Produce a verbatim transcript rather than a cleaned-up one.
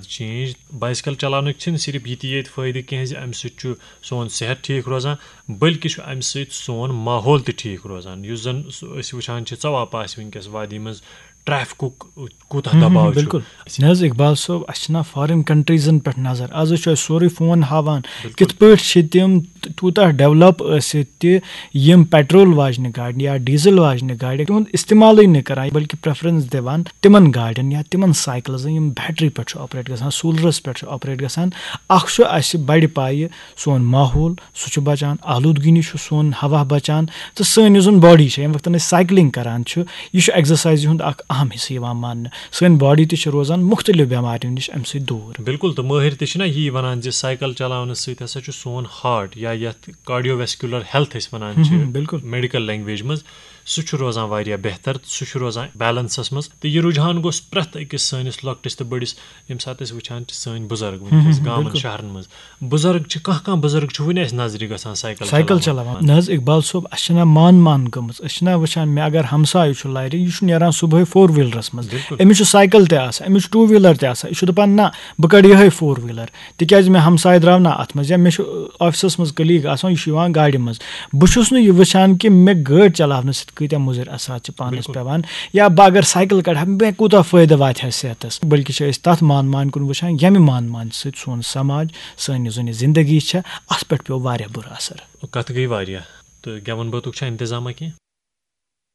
Change. بایسکل چلاونٕکۍ چھِنہٕ صرف یِتہِ یٲتۍ فٲیدٕ کینٛہہ زِ اَمہِ سۭتۍ چھُ سون صحت ٹھیٖک روزان، بلکہِ چھُ اَمہِ سۭتۍ سون ماحول تہِ ٹھیٖک روزان۔ یُس زَن سُہ أسۍ وٕچھان چھِ، ژَوان پاسہِ وٕنکیٚس وادی منٛز ٹریفکُک کوٗتاہ دباو چھُ۔ بِلکُل۔ نہ حظ اقبال صٲب، اَسہِ چھِنہ فارِن کنٹریٖزن پٮ۪ٹھ نظر۔ آز وٕچھو أسۍ سورُے فون ہاوان، کِتھ پٲٹھۍ چھِ تِم تیوٗتاہ ڈیولپ ٲسِتھ تہِ، یِم پیٹرول واجنہِ گاڑِ یا ڈیزل واجنہِ گاڑِ تِہُنٛد استعمالٕے نہٕ کران، بلکہِ پریفرنس دِوان تِمن گاڑٮ۪ن یا تِمن سایکلزن یِم بیٹری پٮ۪ٹھ چھُ آپریٹ گژھان، سولرس پٮ۪ٹھ چھُ آپریٹ گژھان۔ اکھ چھُ اَسہِ بڑِ پایہِ سون ماحول، سُہ چھُ بچان، آلودگی نِش چھُ سون ہوا بچان، تہٕ سٲنۍ یُس زن باڈی چھےٚ، ییٚمہِ وقتن أسۍ سایکلنگ کران چھِ، یہِ چھُ ایکزرسایزِ ہُنٛد اکھ اہم حصہٕ یِوان ماننہٕ۔ سٲنۍ باڈی تہِ چھِ روزان مختلف بٮ۪ماریو نِش اَمہِ سۭتۍ دوٗر۔ بِلکُل، تہٕ مٲہِر تہِ چھِنہ یی وَنان زِ سایکل چلاونہٕ سۭتۍ ہسا چھُ سون ہارٹ، یا یَتھ کارڈیو ویسکیولر ہیلتھ أسۍ وَنان چھِ بِلکُل۔ میڈیکل لینگویج منٛز، سُہ چھُ روزان واریاہ بہتر، سُہ چھُ روزان بیلنسس منٛز۔ تہٕ یہِ رُجحان گوٚژھ پرٛٮ۪تھ أکِس سٲنِس لۄکٹِس تہٕ بٔڑِس، ییٚمہِ ساتہٕ أسۍ وٕچھان چھِ سٲنۍ بُزرگ وٕنکیٚس گامن، شہرن منٛز، بُزرگ چھِ، کانٛہہ کانٛہہ بُزرگ چھُ وُنہِ اَسہِ نظرِ گژھان سایکل سایکل چلاوان۔ نہ حظ اقبال صٲب، اَسہِ چھَنہ مان مان گٔمٕژ۔ أسۍ چھِنہ وٕچھان، مےٚ اگر ہمسایہِ چھُ لرِ، یہِ چھُ نیران صبحٲے فور ویٖلرس منٛز، أمِس چھُ سایکل تہِ آسان، أمِس چھُ ٹوٗ ویٖلر تہِ آسان، یہِ چھُ دپان نہ، بہٕ کڑٕ یِہوٚے فور ویٖلر، تِکیازِ مےٚ ہمسایہِ درٛاو نہ اتھ منٛز، یا مےٚ چھُ آفسس منٛز کلیٖگ آسان، یہِ چھُ یِوان گاڑِ منٛز۔ بہٕ چھُس نہٕ یہِ وٕچھان کہِ مےٚ گٲڑۍ چلاونہٕ سۭتۍ کۭتیاہ مُضر اثرات چھِ پانس پٮ۪وان، یا بہٕ اگر سایکل کڑٕ ہا، مےٚ کوٗتاہ فٲیدٕ واتہِ ہا صحتس۔ بلکہِ چھِ أسۍ تتھ مان مان کُن وٕچھان، ییٚمہِ مان مان سۭتۍ سون سماج، سٲنۍ یُس زن یہِ زندگی چھےٚ، اتھ پٮ۪ٹھ پیوٚو واریاہ بُرٕ اثر۔ کتھ گٔے واریاہ۔ تہٕ گٮ۪وَن بٲتُک چھا انتظامہ کینٛہہ؟